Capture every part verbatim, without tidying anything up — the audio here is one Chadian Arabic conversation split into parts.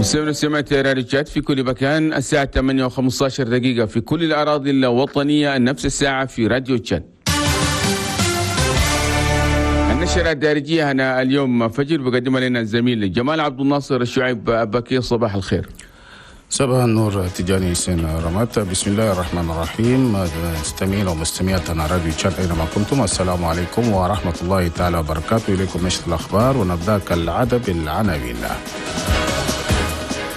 مستمعينا ومستمعات راديو تشاد في كل مكان، الساعة ثمانية وخمسة عشر دقيقة في كل الأراضي الوطنية، نفس الساعة في راديو تشاد. النشرة الدارجية هنا اليوم فجر بقدمها لنا الزميل جمال عبد الناصر الشعيب بكير. صباح الخير. صباح النور تجاني سين رمات. بسم الله الرحمن الرحيم. مستمعين ومستمعاتنا راديو تشاد أينما كنتم، السلام عليكم ورحمة الله تعالى وبركاته. إليكم نشرة الأخبار ونبدأ كالعادة بالعناوين.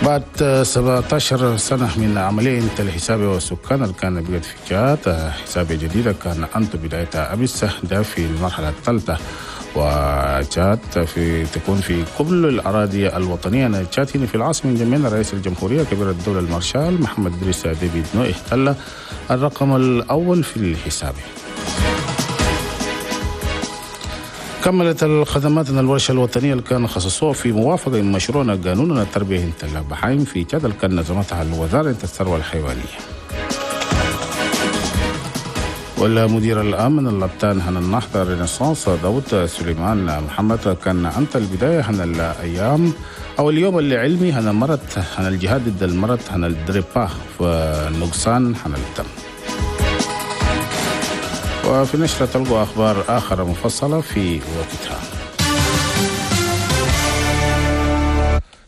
بعد سبعة عشر سنة من عملية الحساب والسكان اللي كان بقت في تشاد، حساب جديدة كان أنت بدايتها أمس ده في المرحلة الثالثة، وتشاد في تكون في كل الأراضي الوطنية. تشاد هنا في العاصمة جميعا رئيس الجمهورية كبير الدولة المارشال محمد إدريس ديبي إتنو احتل الرقم الأول في الحساب. كملت الخدمات الورشة الوطنية اللي كان خصصوها في موافقة مشروعنا قانون التربية البحايم في تشاد اللي كان نظمتها الوزارة الثروة الحيوانية. والمدير الأمن اللبتان هن النهضة رينيسانس داود سليمان محمد كان أنت البداية هن الأيام أو اليوم اللي علمي هن مرض هن الجهاد ضد المرض هن الدريبا والنقصان هن الدم. وفي نشرة تلقوا أخبار آخر مفصلة في وقتها.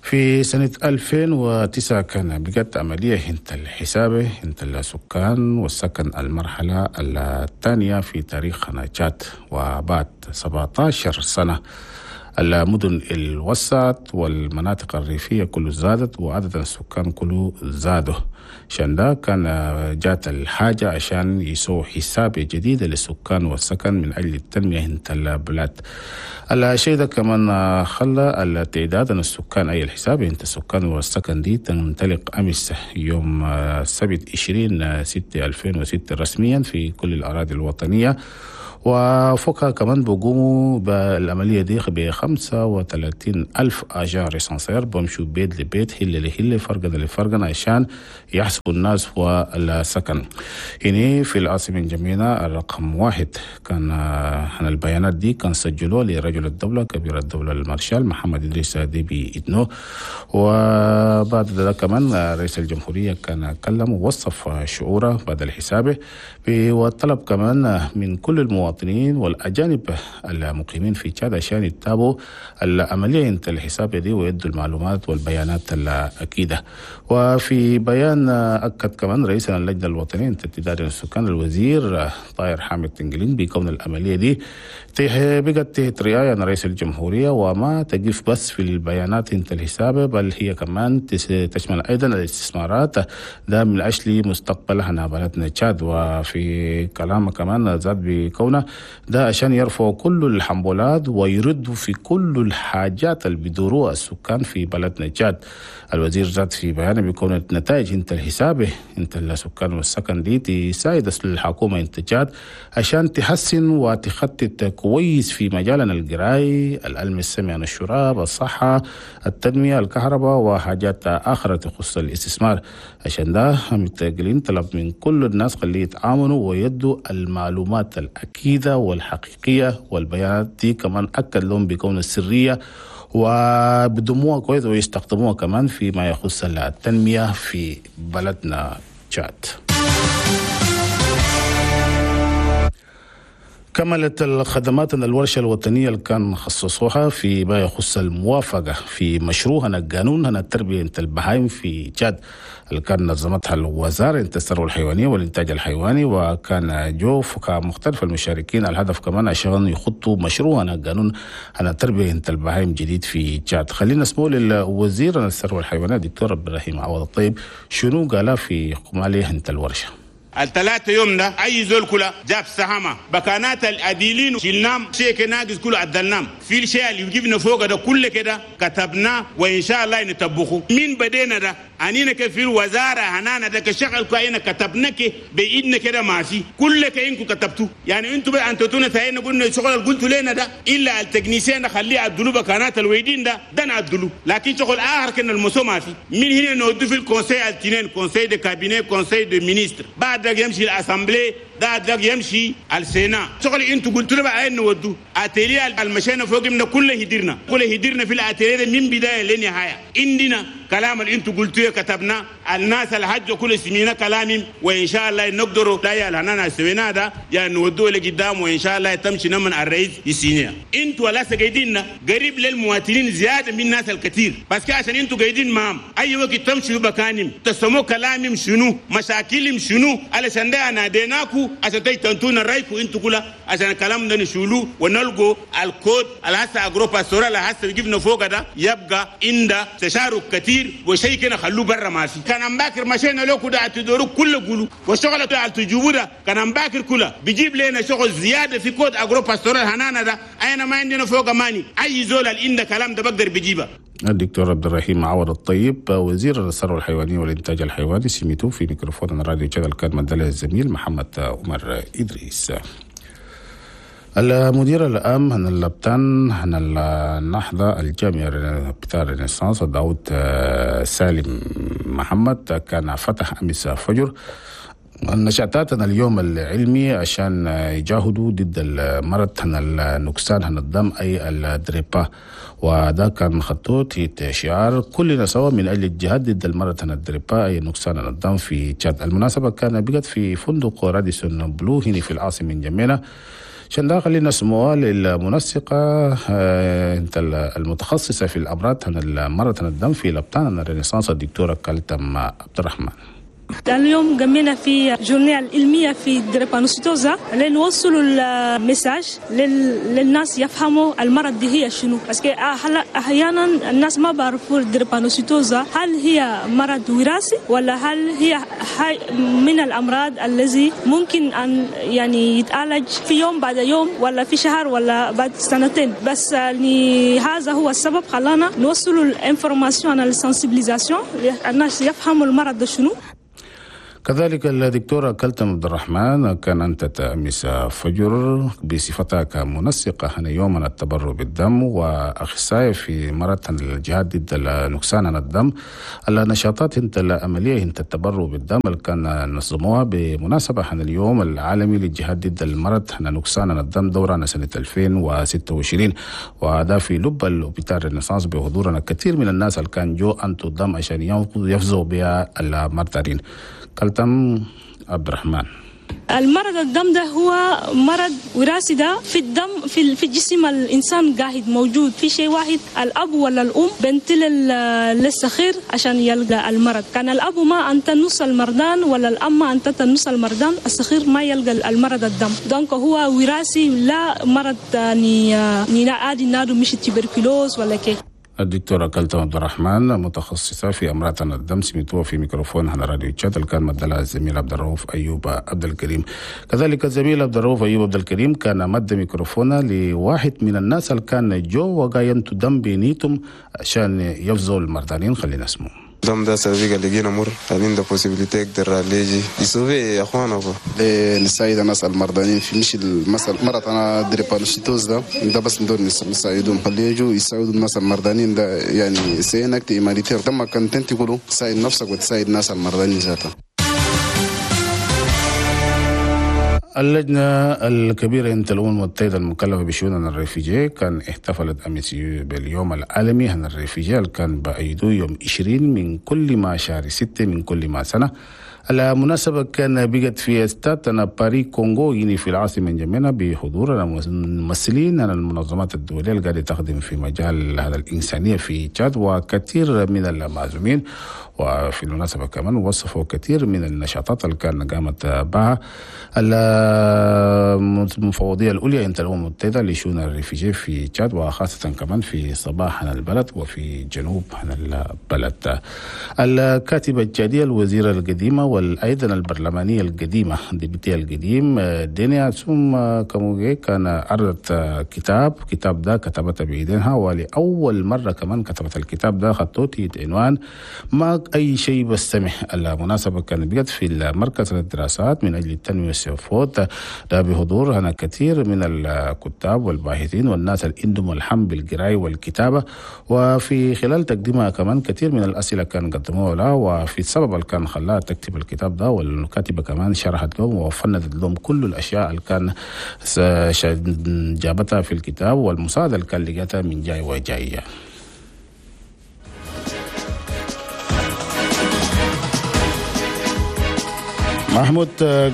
في سنة ألفين وتسعة كان بقت عملية هنت الحسابة هنت السكان والسكن المرحلة الثانية في تاريخ تشاد، وبعد سبعة عشر سنة المدن الوسط والمناطق الريفية كله زادت وعدد السكان كله زادوا. عشان ده كان جات الحاجة عشان يسووا حساب جديد للسكان والسكن من أجل التنمية هنت البلاد. الشيء ده كمان خلى التعداد السكان أي الحساب هنت السكان والسكن دي تنطلق أمس يوم السبت عشرين ستة ألفين وستة رسميا في كل الأراضي الوطنية. وفوقها كمان بقوموا بالعملية دي ب خمسة وثلاثين ألف agent recenseur بمشوا بيت لبيت هلة لهلة فرقنا لفرقنا عشان يحسبوا الناس والسكن. هنا في العاصمة جميلة الرقم واحد كان عن البيانات دي كان سجلوه لرجل الدولة كبير الدولة المارشال محمد إدريس ديبي إتنو. وبعد ذلك كمان رئيس الجمهورية كان كلم ووصف شعوره بعد الحساب وطلب كمان من كل المواطنين والأجانب المقيمين في تشاد عشان يتابعوا العملية انت الحساب دي ويدوا المعلومات والبيانات الأكيدة. وفي بيان أكد كمان رئيس اللجنة الوطنية لتعداد السكان الوزير طاهر حامد تنجلين بكون العملية دي بقت تحت رعاية رئيس الجمهورية وما تقف بس في البيانات انت الحساب، بل هي كمان تشمل أيضا الاستثمارات ده من أجل مستقبلها بلدنا تشاد. وفي كلامه كمان زاد بكونه ده عشان يرفعوا كل الحنبولات ويردوا في كل الحاجات اللي بيدوروها السكان في بلدنا تشاد. الوزير زاد في بيانه بيكون النتائج انت الحسابه انت السكان والسكن دي تساعد الحكومه انت تشاد عشان تحسن وتخطط كويس في مجالنا القراي، العلم السمع عن الشراب، الصحه، التنميه، الكهرباء وحاجات اخرى تخص الاستثمار. عشان ده متقلين طلب من كل الناس خليه يتعاونوا ويدوا المعلومات الأكيدة والحقيقية والبيانات دي كمان أكد لهم بكون السرية وبدموها كويس ويستخدموها كمان فيما يخص التنمية في بلدنا تشاد. كملت الخدمات الورشة الوطنية اللي كان خصصوها في ما يخص الموافقة في مشروعنا القانون هنا التربية البهايم في تشاد اللي كان نظمتها الوزارة الثروة الحيوانية والإنتاج الحيواني، وكان جوف كمختلف المشاركين. الهدف كمان عشان يخطوا مشروعنا القانون هنا التربية البهايم جديد في تشاد. خلينا نسمع للوزير الثروة الحيوانية دكتور إبراهيم عوض الطيب شنو قال في قماليه انت الورشة. الثلاثة يوم ده أي زول كله جاب سهمة بكانات الأديلين شلنام شيء ناقص كله عدلنام في الشيء اللي يجيبنا فوق ده كله كده كتبناه وإن شاء الله نطبقه. من بدينا ده أنينا كفي الوزارة هنانا ده كشغل كأينا كتبناك بإيدنا كده ماشي كل كأنكم كتبتوه. يعني أنتوا بقى أنتوا تاينا قلنا الشغل اللي قلتوا لنا ده إلا التكنيسيين خليه عدلوا بكانات الويدين ده ده نعدلوه، لكن شغل آخر كنا المسو ما في. من هنا نودو في ال conseil التنين، conseil de cabinet، conseil de ministres، بعد ده يمشي ال assemblée، ده ده يمشي ال sénat. شغل انتوا قلتوا لنا بقى نودو اتيليه المشينا فوق من كله هدرنا كله هدرنا في الاتيليه من بدايه لنهايه. عندنا كلام اللي انتوا قلتوه كتبنا الناس الحج كل سمينا كلامهم، وان شاء الله نقدروا لا يا لنا سوينا ده يعني نودوه لقدام، وان شاء الله تمشي نمن الرئيس يسينيا. انتوا ولا قاعدين قريب للمواطنين زيادة من الناس الكثير، بس عشان انتوا قاعدين معهم اي وقت تمشوا بكانهم تسموا كلامهم شنو مشاكلهم شنو، علشان ده ناديناكو عشان تنتونا رايكو انتوا كلها عشان الكلام ده نشولو ونلقوا الكود على حسب agro-pastoral على حسب جبنا فوق ده يبقى عند تشارك كثير وشيء كده خلوه برا ما في. كان باكر مشينا لكم ده تدوروا كله قولوا والشغل ده تجيبوه ده كان باكر كله بيجيب لنا شغل زيادة في code agro-pastoral هنانا ده انا ما عندنا فوق ماني اي زول اللي عنده كلام ده بقدر بيجيبه. الدكتور عبد الرحيم عوض الطيب وزير الثروة الحيوانية والإنتاج الحيواني سميتو في ميكروفون راديو شغل كان مدلة الزميل محمد عمر إدريس. المدير العام هن اللبتان هن النهضة الجامعة بتاع رينيسانس داود سالم محمد كان فتح أمس فجر نشاطاتنا اليوم العلمي عشان يجاهدوا ضد المرض النقصان هن الدم أي الدريبا، وده كان خطوط شعار كلنا سوا من أجل الجهاد ضد المرض الدريبا أي نقصان الدم في تشاد. المناسبة كان بقت في فندق راديسون بلو هنا في العاصمة نجمينا. عشان ده خلينا نسمعها للمنسقة المتخصصة في الأمراض المرض الدم في لبتان الرينيسانس الدكتورة كالتم عبد الرحمن. اليوم قمنا في journée العلمية في drépanocytose لنوصلوا ال message للناس يفهموا المرض دي هي شنو، parce que أحيانا الناس ما بعرفوا ال drépanocytose هل هي مرض وراثي ولا هل هي من الأمراض الذي ممكن أن يعني يتعالج في يوم بعد يوم ولا في شهر ولا بعد سنتين. بس يعني هذا هو السبب خلانا نوصلوا ال information ال sensibilisation الناس يفهموا المرض ده شنو. كذلك الدكتورة كلتم عبد الرحمن كان أنت أمس فجر بصفتها كمنسقة هنا يوما التبرع بالدم وأخصائية في مرة الجهاد ضد نقصان الدم النشاطات انت العملية انت التبرع بالدم اللي كان نظموها بمناسبة هنا اليوم العالمي للجهاد ضد المرض هنا نقصان الدم دورنا سنة ألفين وستة وعشرين، وهذا في لب الأوبيتال رينيسانس بحضورنا كثير من الناس اللي كان جو أنتو الدم عشان يفزوا بها المرضين. كلتم عبد الرحمن. المرض الدم ده هو مرض وراثي ده في الدم في في جسم الانسان قاعد موجود في شيء واحد الاب ولا الام بنتل للصغير عشان يلقى المرض. كان الاب ما انت نص المرضان ولا الام ما انت نص المرضان الصغير ما يلقى المرض الدم. donc هو وراثي لا مرض يعني عادي نادو مش tuberculose ولا كي. الدكتورة كلتم عبد الرحمن متخصصة في أمراض الدم سمعتوها في ميكروفون على راديو تشاد اللي كان مدلها الزميل عبد الرؤوف أيوب عبد الكريم. كذلك الزميل عبد الرؤوف أيوب عبد الكريم كان مد ميكروفونه لواحد من الناس اللي كان جو وقايمت دم بنيتهم عشان يفزوا المرضانين. خلينا نسمعه. دم ده سبيقة لقينا مر عندنا possibilité يقدر ليجي يسوي اخوانه نساعد الناس المرضانين في مش المثل مرض انا drépanocytose ده ده بس ندور نساعدهم خليه يجوا يساعدوا الناس المرضانين ده يعني c'est un acte humanitaire ده ما كنت انت تقولوا تساعد نفسك وتساعد الناس المرضانين ذاتها. اللجنة الكبيرة انت الأمم المتحدة المكلفة بشؤون ال réfugiés كان احتفلت أمس باليوم العالمي عن ال réfugiés اللي كان بأيدو يوم عشرين من كل ما شهر ستة من كل ما سنة. المناسبة كان بقت في استاد باري كونغو يعني في العاصمة نجمينا بحضور الممثلين عن المنظمات الدولية اللي قاعدة تخدم في مجال هذا الإنسانية في تشاد وكثير من المعزومين. وفي المناسبة كمان وصفوا كثير من النشاطات اللي كان قامت بها المفوضية العليا عند الأمم المتحدة لشؤون ال réfugiés في تشاد وخاصة كمان في صباح البلد وفي جنوب البلد. الكاتبة التشادية الوزيرة القديمة والأيضا البرلمانية القديمة députée القديم دينيا ثم كموجي كان عرضت كتاب كتاب ده كتبته بإيدينها ولأول مرة كمان كتبت الكتاب ده خطوتي عنوان ما أي شيء بستمح. المناسبة كان بقت في المركز للدراسات من أجل التنمية والسيفوت ده بحضور هنا كثير من الكتاب والباحثين والناس اللي عندهم الحم بالقراية والكتابة. وفي خلال تقديمها كمان كثير من الأسئلة كان قدموها لها وفي السبب اللي كان خلاها تكتب الكتاب ده والكاتبة كمان شرحت لهم وفندت لهم كل الأشياء اللي كان جابتها في الكتاب والمساعدة اللي كان لقيتها من جاي وجاية. محمود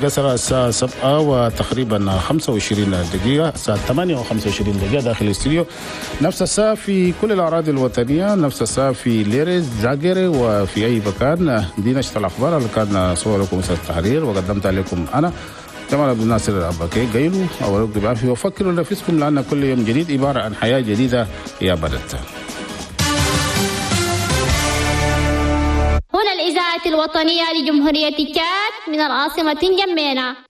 قصر الساعة سبعة وتقريبا خمسة وعشرين دقيقة، الساعة ثمانية وخمسة وعشرين دقيقة داخل الاستوديو، نفس الساعة في كل الأراضي الوطنية، نفس الساعة في ليريز زاجري وفي أي مكان. دي نشرة الأخبار اللي كان صور لكم أستاذ التحرير وقدمتها لكم أنا جمال عبد الناصر الأباكي. قيلوا أو بعافية وفكروا لنفسكم، لأن كل يوم جديد عبارة عن حياة جديدة يا بلد. هنا الإذاعة الوطنية لجمهورية تشاد من العاصمة جمينة.